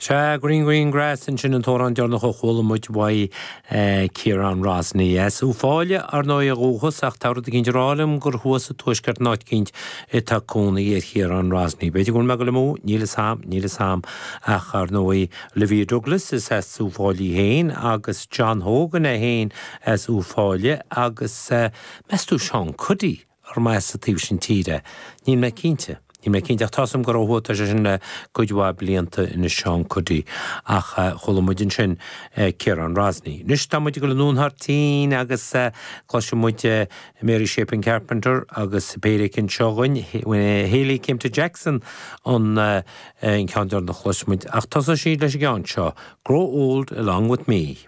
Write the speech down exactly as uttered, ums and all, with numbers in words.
Sea, Green Green Grass ansin an t-amhrán deireanach a chuala muid uaidh Ciarán Rosney. As Uíbh Fhailí ar ndóigh ó dhúchas ach tá rud eicínt ag rá liom gur thuas sa tuaisceart in áit eicínt atá cónaí ar Chiarán Rosney. B'fhéidir go bhfuil mé ag dul amú, níl fhios a'm, níl fhios a'm ach ar ndóigh Olivia Douglas is as Uíbh Fhailí féin agus John Hogan é féin as Uíbh Fhailí agus meas tú Seán Cuddy ar as an taobh sin tíre. Níl mé cinnte. Níl mé cinnte ach tá am go raibh tá sé sin le cuid mhaith blianta ina Seán Cuddy ach chuala muid ansin Ciarán Rosney. Anois tá muid ag dul i nDún Hairtín agus cloisfidh muid Mary Chapin Carpenter agus péire anseo againn Haley came to Jackson an an ceann deireanach a chloisfidh muid ach tosóidh siad leis an gceann seo, Grow Old Along With Me.